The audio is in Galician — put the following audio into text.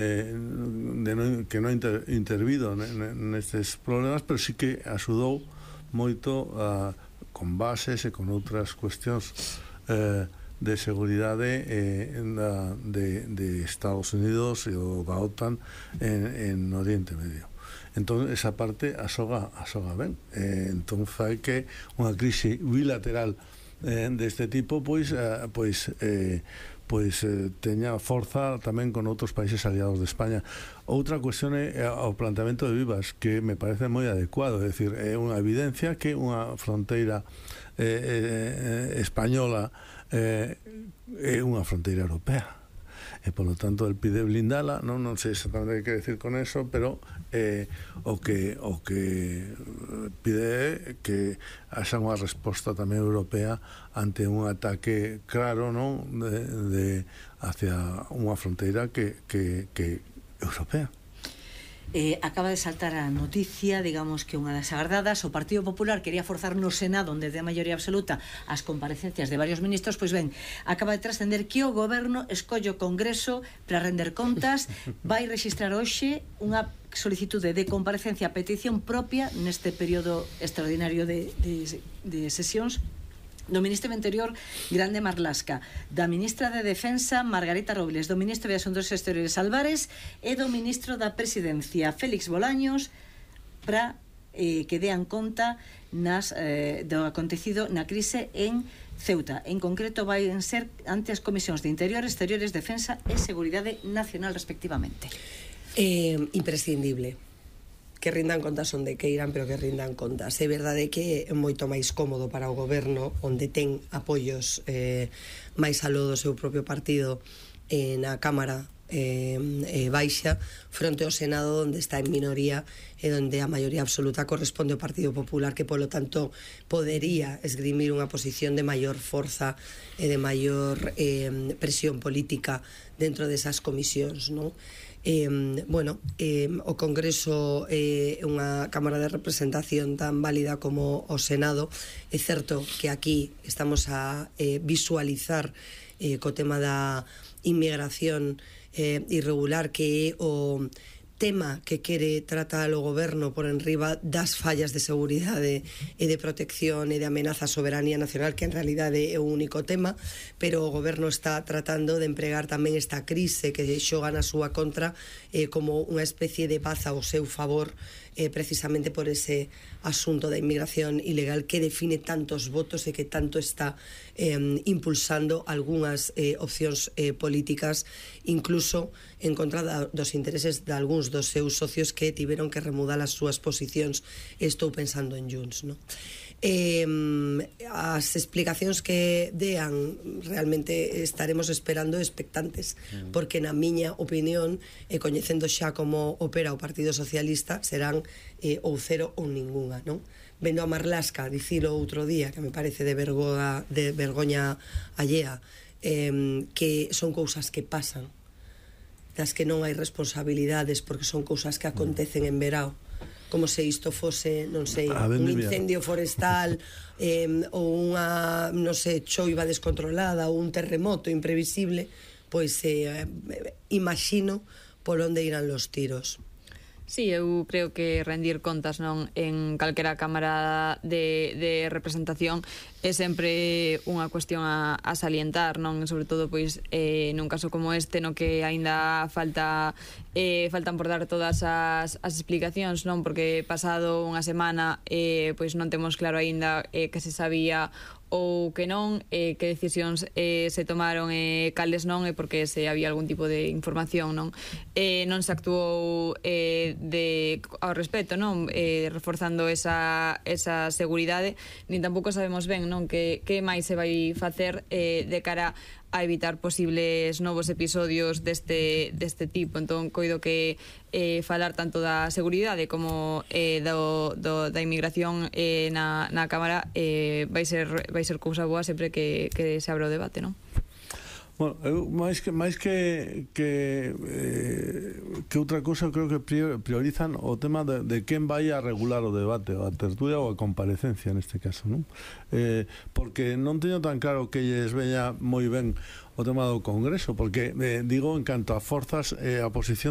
que non intervido nestes problemas, pero sí que axudou moito con bases e con outras cuestións de seguridade de Estados Unidos e da OTAN en Oriente Medio. Entón, esa parte asoga ben. Entón, fai que unha crise bilateral deste tipo teña forza tamén con outros países aliados de España. Outra cuestión é o planteamento de Vivas, que me parece moi adecuado. É dicir, é unha evidencia que unha fronteira española é unha fronteira europea, e polo tanto el pide blindala. Non sei exactamente que decir con eso, pero o que pide é que haxa unha resposta tamén europea ante un ataque claro, non, hacia unha fronteira que europea. Acaba de saltar a noticia, digamos que unha das agardadas, o Partido Popular quería forzar no Senado, onde ten a maioría absoluta, as comparecencias de varios ministros. Pois ben, acaba de trascender que o Goberno escolle o Congreso para render contas. Vai registrar hoxe unha solicitude de comparecencia a petición propia neste período extraordinario de sesións do Ministro do Interior, Grande Marlaska, da Ministra de Defensa, Margarita Robles, do Ministro de Asuntos Exteriores, Álvarez, e do Ministro da Presidencia, Félix Bolaños, para que dean conta do acontecido na crise en Ceuta. En concreto, vai ser ante as comisións de Interior, Exteriores, Defensa e Seguridade Nacional, respectivamente. Imprescindible que rindan contas onde queiran, pero que rindan contas. É verdade que é moito máis cómodo para o goberno, onde ten apoios máis aló do seu propio partido na Cámara baixa, fronte ao Senado, onde está en minoría e onde a maioría absoluta corresponde ao Partido Popular, que polo tanto podería esgrimir unha posición de maior forza e de maior presión política dentro desas comisións, non? O Congreso é unha Cámara de Representación tan válida como o Senado. É certo que aquí estamos a visualizar co tema da inmigración irregular, que é o tema que quere tratar o goberno por enriba das fallas de seguridade e de protección e de amenaza á soberanía nacional, que en realidade é o único tema, pero o goberno está tratando de empregar tamén esta crise que xoga na súa contra como unha especie de paz ao seu favor, precisamente por ese asunto da inmigración ilegal que define tantos votos e que tanto está impulsando algunhas opcións políticas, incluso en contra dos intereses de algúns dos seus socios que tiveron que remudar as súas posicións. Estou pensando en Junts, non? As explicacións que dean realmente estaremos esperando expectantes, porque na miña opinión, e coñecendo xa como opera o Partido Socialista, serán ou cero ou ningunha, non? Vendo a Marlaska dicilo outro día, que me parece de vergoña allea, que son cousas que pasan, das que non hai responsabilidades, porque son cousas que acontecen en verao, como se isto fose, non sei, un incendio forestal ou unha, non sei, choiva descontrolada ou un terremoto imprevisible, pois imagino por onde irán los tiros. Sí, eu creo que rendir contas non en calquera cámara de representación é sempre unha cuestión a salientar, non? Sobre todo, pois, nun caso como este, no que aínda faltan por dar todas as explicacións, non? Porque pasado unha semana, pois non temos claro aínda que se sabía ou que non, que decisións se tomaron e cales non, e porque se había algún tipo de información, non? Non se actuou ao respecto, non? Reforzando esa seguridade, nin tampouco sabemos ben, non? Que máis se vai facer de cara a evitar posibles novos episodios deste tipo. Entón, coido que falar tanto da seguridade como da inmigración na Cámara vai ser cousa boa sempre que se abra o debate, non? Bueno, eu máis que outra cousa, creo que priorizan o tema de quen vai a regular o debate, a tertulia ou a comparecencia neste caso, non? Porque non teño tan claro que lles veña moi ben o tema do Congreso, porque digo, en canto a forzas, a posición